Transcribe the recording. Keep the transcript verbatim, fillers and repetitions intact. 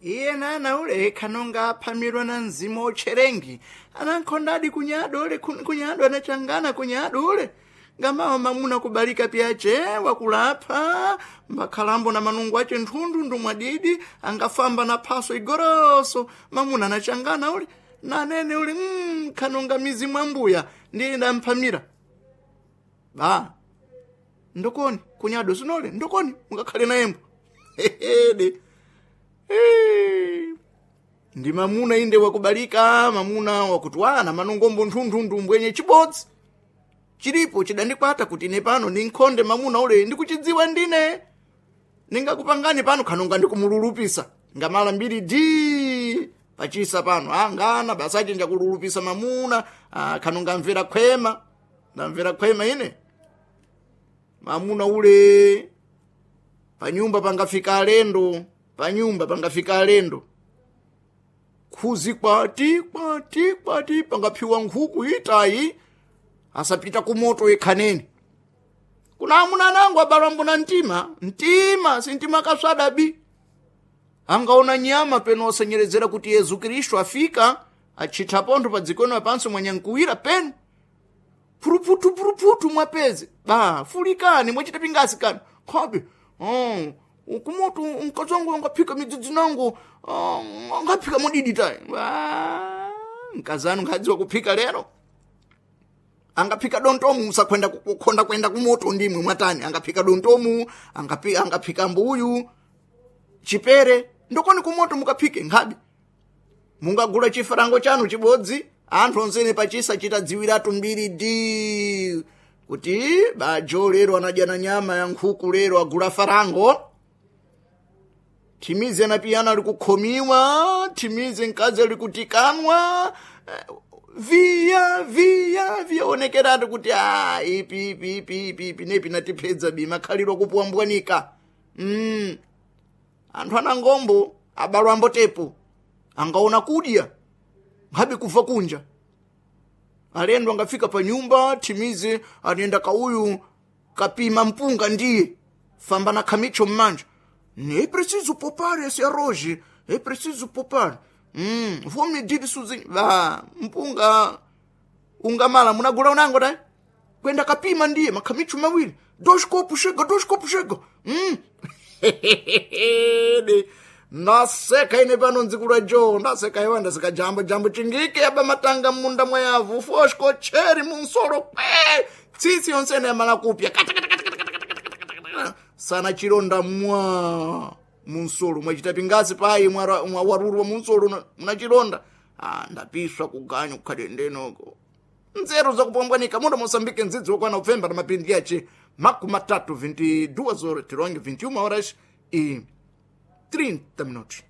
Iye nana ule kanonga aphamirwa na mzimu otcherengi anankhondadi kunyado ule kunyado anachangana kunyado ule ngamawa mamuna kubalika pyace wakulapha mbakhalambo na manungo ace nthunthundu mwadidi angafamba na phaso igoroso mamuna anachangana ule nanene ule mm, khanonga mizimu ambuya ndiye ndamphamira ba ndokoni kunyado sinole ndokoni mungakhale nayembo hehede ndi mamuna inde wakubalika mamuna wakutwana manungombo nthunthundu mbwenye chibodzi chilipo chidandikwata kuti ine pano ninkhonde mamuna ule ndikuchidziwa ndine ningakupangani pano khanonga ndikumululupisa ngamala mbiri di pachisa pano angana basi achinja kululupisa mamuna ah, khanonga mvera khwema ndamvera khwema ine mamuna ule panyumba pangafika alendo panyumba pangafika alendo khuzi kwati kwati kwati pangaphiwa nkhuku itayi asapita kumoto yekhaneni kuna amuna nangu abalwambo na mtima mtima sintima kaswadabi angaona nyama peno osenyerezera kuti yesu kristu afika achitha pontho pa dzikono panso mwanyankuwira peno phuruphuthu phuruphuthu mwapeze ba fulikani mwachita pingasi kani khobe oh, kumoto mkazi wangu angaphika midzidzi nangu oh, angaphika modidi tayi mkazi anu nkhadziwa kuphika lero angaphika dontomu musakhwenda kukhonda kwenda kumoto ndimwe mwatani angaphika dontomu angaphika, angaphika mbuyu chipere ndokoni kumoto mukaphike nkhabe mungagula chifarango chanu chibodzi anthu onsene pachisa chitadziwiratu mbiri di kuti bajo lero anadya na nyama ya nkhuku lero agula farango thimizi anapiyana ali kukhomiwa thimizi mkazi ali kutikanwa viya viya viyaonekeratu kuti a ipi ipi ipi ipi ipi nepi natipedza bima khaliro kupuwambwanika mm. anthu anangombo abalwambo tepo angaona kudya nkhabe kuva kunja alendo angafika pa nyumba thimize anenda kauyu kapima mpunga ndiye famba na khamicho mmanja é preciso poupar esse arroz é preciso poupar hum, vou medir sozinho va mpunga ungamala munagula unango dai kwenda kapima ndiye makhamicho mawiri dois copos chega dois copos chega hum. ndaseka ine pano ndzikula jo ndaseka iwa ndaseka jambo jambo chingike aba matanga munda mwayavu fosco cheri munsolo kwe tsitsi yonsene yamala kupya sana chilonda mwa munsolo mwachita pingasi payi mwawarurwa munsolo munachilonda ah, ndapiswa kuganyu kukhale ndenoko nzeru zakupombwanika muno mosambike ndzidzi wokwana upfemba na mapindi yace makumi matatu vinte e duas horas tironge vinte e uma horas e trinta minutos.